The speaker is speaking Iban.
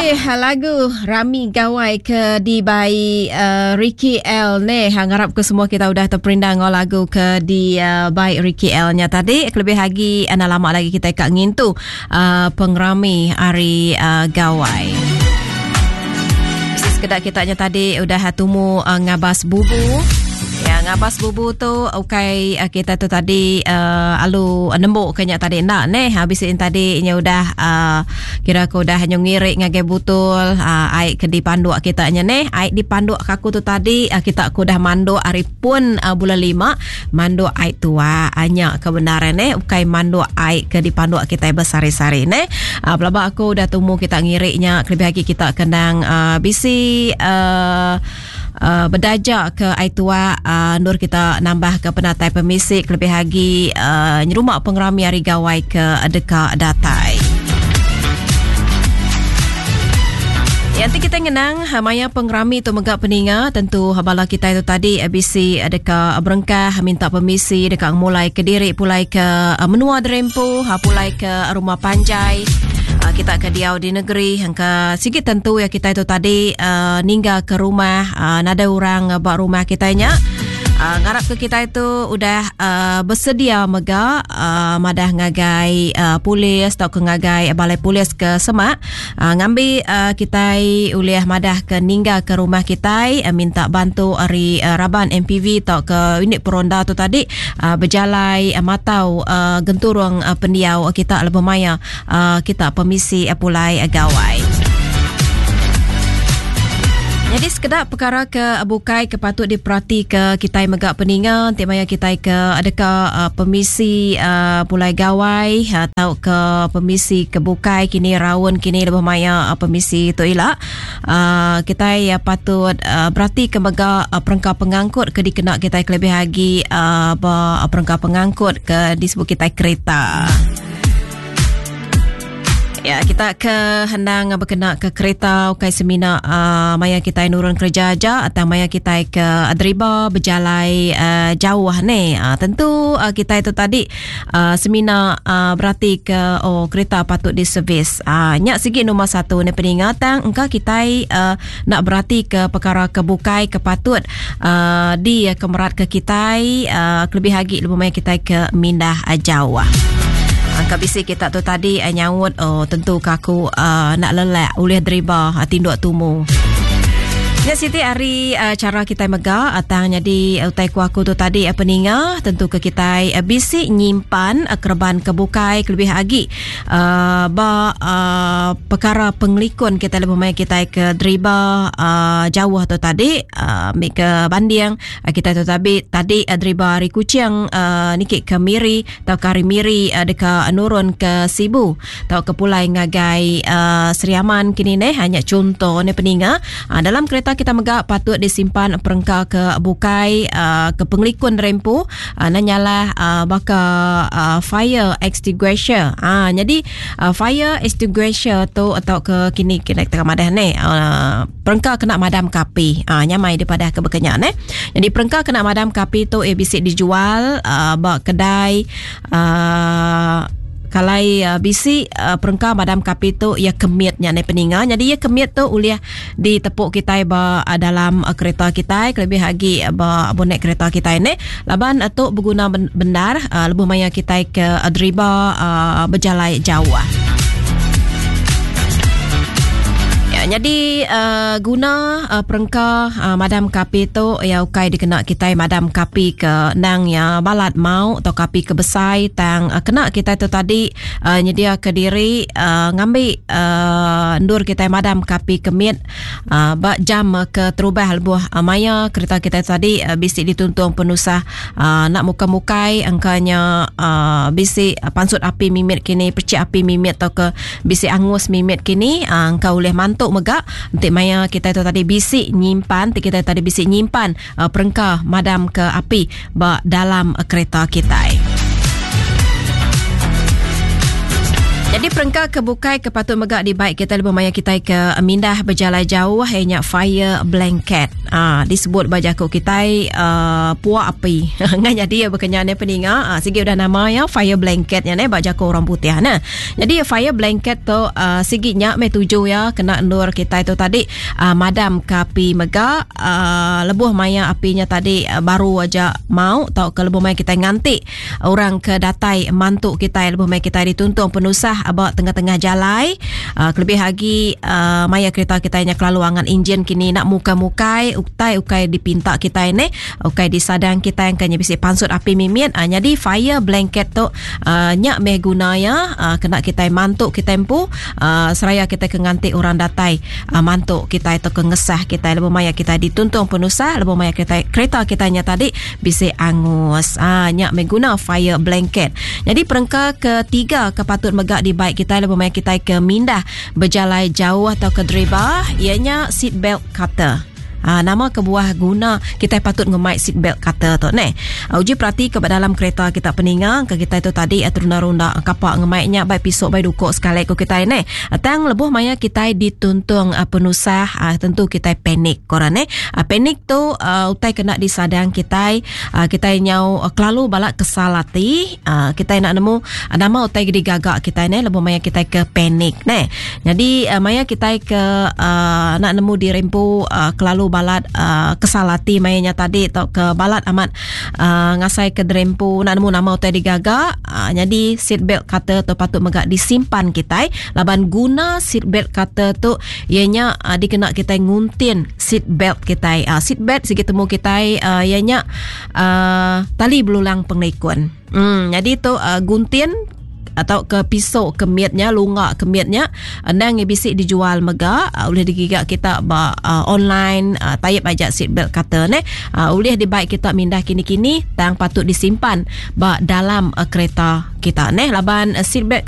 Jadi lagu Rami Gawai ke dibai uh, Ricky L ni ha, ngarap ke semua kita udah terperindang ngau lagu ke dibai uh, Ricky L nya tadi kelebih lagi anda lama lagi kita kak ngintu uh, pengerami hari uh, Gawai. Sekeda kita nya tadi udah tumu uh, ngabas bubu. Ya, ngabas bubu tu ukai uh, kita tu tadi uh, alu nembuk ke nya tadi enda neh. Habis in tadi nya udah uh, kira ke udah nyu ngirik ngagai butul uh, ai ke dipanduk kita nya neh. Ai dipanduk ke aku tu tadi uh, kita ku udah manduk ari pun uh, bulan lima manduk ai tua anya ke benar neh ukai manduk ai ke dipanduk kita besari-sari neh. Uh, pelaba aku udah tumu kita ngirik nya kelebih lagi kita kenang uh, bisi uh, uh, bedaja ke ai tua uh, endur kita nambah ke penatai pemisi kelebih agi uh, nyerumah pengerami hari gawai ke deka datai. Yang ti kita ngenang ha, maya pengerami tu mega peninga tentu bala kita itu tadi bisi deka berengkah minta permisi deka mulai ke diri pulai ke menua derempu ha, pulai ke rumah panjai kita ke diau di negeri hangka sigi tentu ya kita itu tadi uh, ninggal ke rumah uh, nadai orang ba rumah kita nya uh, ngarap ke kita itu udah uh, bersedia mega uh, madah ngagai uh, polis atau ke ngagai balai polis ke semak uh, ngambi uh, kita ulih madah ke ninggal ke rumah kita uh, minta bantu ari uh, raban MPV atau ke unit peronda tu tadi uh, berjalai uh, matau uh, genturung uh, pendiau kita lebih maya uh, kita pemisi uh, pulai uh, gawai. Jadi sekeda perkara ke bukai ke patut diperhati ke kita mega peninga ti maya kita ke adakah uh, pemisi uh, pulai gawai atau ke pemisi ke bukai kini raun kini lebih maya uh, pemisi tu ila uh, kita uh, patut uh, berarti ke mega uh, perengka pengangkut ke dikena kita kelebih lagi uh, perengka pengangkut ke disebut kita kereta. Ya, kita ke hendang berkena ke kereta ukai semina uh, maya kita nurun kerja aja atau maya kita ke driba berjalai uh, jauh ni. Uh, tentu uh, kita itu tadi uh, semina uh, berarti ke oh kereta patut diservis. Uh, nyak segi nombor satu ni peningatan engkau kita uh, nak berarti ke perkara ke bukai ke patut uh, di kemerat ke kita uh, kelebih lagi lebih maya kita ke mindah uh, jauh. Angka bisi kita tu tadi uh, nyaut oh tentu ke aku uh, nak lelak ulih deriba uh, tinduk tumu. Ya Siti hari uh, cara kita mega atang jadi utai ku aku tu tadi uh, peninga tentu ke kita uh, bisi nyimpan uh, kerban kebukai kelebih lagi uh, ba uh, perkara pengelikun kita lebih mai kita ke deriba uh, jauh tu tadi uh, ambil ke banding uh, kita tu tadi tadi uh, deriba hari Kuching uh, nikik ke Miri tau ke hari Miri uh, deka nurun ke Sibu tau ke pulai ngagai uh, Sri Aman kini neh hanya contoh ni peninga uh, dalam kereta kita mega patut disimpan perengka ke bukai uh, ke pengelikun rempu uh, nanyalah uh, baka uh, fire extinguisher. Uh, jadi uh, fire extinguisher tu atau ke kini kena kita madah ni uh, perengka kena madam kapi. Uh, nyamai daripada ke berkenyak ne. Jadi perengka kena madam kapi tu eh bisik dijual uh, ba kedai uh, kalai uh, bisi uh, perengka madam kapi tu ia kemitnya ne peninga. Jadi ia kemit tu ulih ditepuk kita ba uh, dalam uh, kereta kita kelebih lagi uh, ba bonet kereta kita ni. Laban uh, tu berguna bendar uh, lebuh maya kita ke uh, deriba uh, berjalai jauh. Ya, jadi uh, guna uh, perengka uh, madam kapi tu ya ukai dikena kita madam kapi ke nang ya balat mau atau kapi ke besai tang uh, kena kita tu tadi uh, nyedia ke diri uh, ngambi uh, ndur kita madam kapi kemit uh, ba jam ke terubah lebuh uh, maya kereta kita tadi uh, bisi dituntung penusah uh, nak muka-mukai angkanya uh, bisi uh, pansut api mimit kini percik api mimit atau ke bisi angus mimit kini uh, engkau boleh mantuk mega nanti maya kita tu tadi bisi nyimpan nanti kita tadi bisi nyimpan uh, perengka madam ke api ba dalam uh, kereta kita. Jadi perengka ke bukai ke patut mega dibai kita lebuh maya kitai ke mindah bejalai jauh iya nya fire blanket. Ah disebut ba jaku kitai uh, puak api. Ngai nyadi ya bekenya ne peninga. Ah, sigi udah nama ya fire blanket nya ne ba jaku orang putih ne. Jadi fire blanket tu uh, sigi nya meh tuju ya kena endur kitai tu tadi uh, madam ke api mega uh, lebuh maya api nya tadi uh, baru aja mau tauka lebuh maya kitai nganti Orang ke datai mantu kitai lebuh maya kitai dituntung penusah ba tengah-tengah jalai uh, kelebih agi uh, maya kereta kitai nya kelalu angat enjin kini nak mukai-mukai utai ukai dipinta kitai neh ukai disadang kitai engka nya bisi pansut api mimit uh, nyadi fire blanket tu uh, nya meh guna iya uh, kena kitai mantu kitai empu uh, seraya kitai ke nganti orang datai uh, mantu kitai tauka ngesah kitai lebuh maya kitai dituntung penusah lebuh maya kitai kereta kitai nya tadi bisi angus. Ah nya meh guna fire blanket. Nyadi perengka ketiga ke patut mega dibai kitai lebuh maya kitai ke mindah bejalai jauh tauka deriba iya nya seat belt cutter. Ha, nama kebuah guna kitai patut ngemai seat belt cutter tu neh. Ha, uji perati ke ba dalam kereta kita peninga ke kitai tu tadi terunda-runda kapak ngemai nya bai pisok bai dukok sekali ko kitai neh. Tang lebuh maya kitai dituntung penusah tentu kitai panik ko orang neh. Panik tu utai kena disadang kitai, kitai nyau kelalu bala kesal ati, kitai enda nemu nama utai ke digaga kitai neh lebuh maya kitai ke panik neh. Nyadi maya kitai ke enda nemu diri empu kelalu balat kesal ati maya nya tadi tauka balat amat ngasai ke diri empu enda nemu nama utai digaga, nyadi seat belt cutter tu patut mega disimpan kitai laban guna seat belt cutter tu iya nya dikena kitai nguntin seat belt kitai. Uh, seat belt sigi temu kitai uh, iya nya uh, tali belulang pengelikun. Hmm, jadi tu uh, guntin atau ke pisau kemit nya lunga kemit nya endang iya bisi dijual mega uh, ulih digiga kita ba uh, online uh, type aja seat belt cutter neh uh, ulih dibai kita mindah kini-kini tang patut disimpan ba dalam uh, kereta kita neh laban uh, seat belt.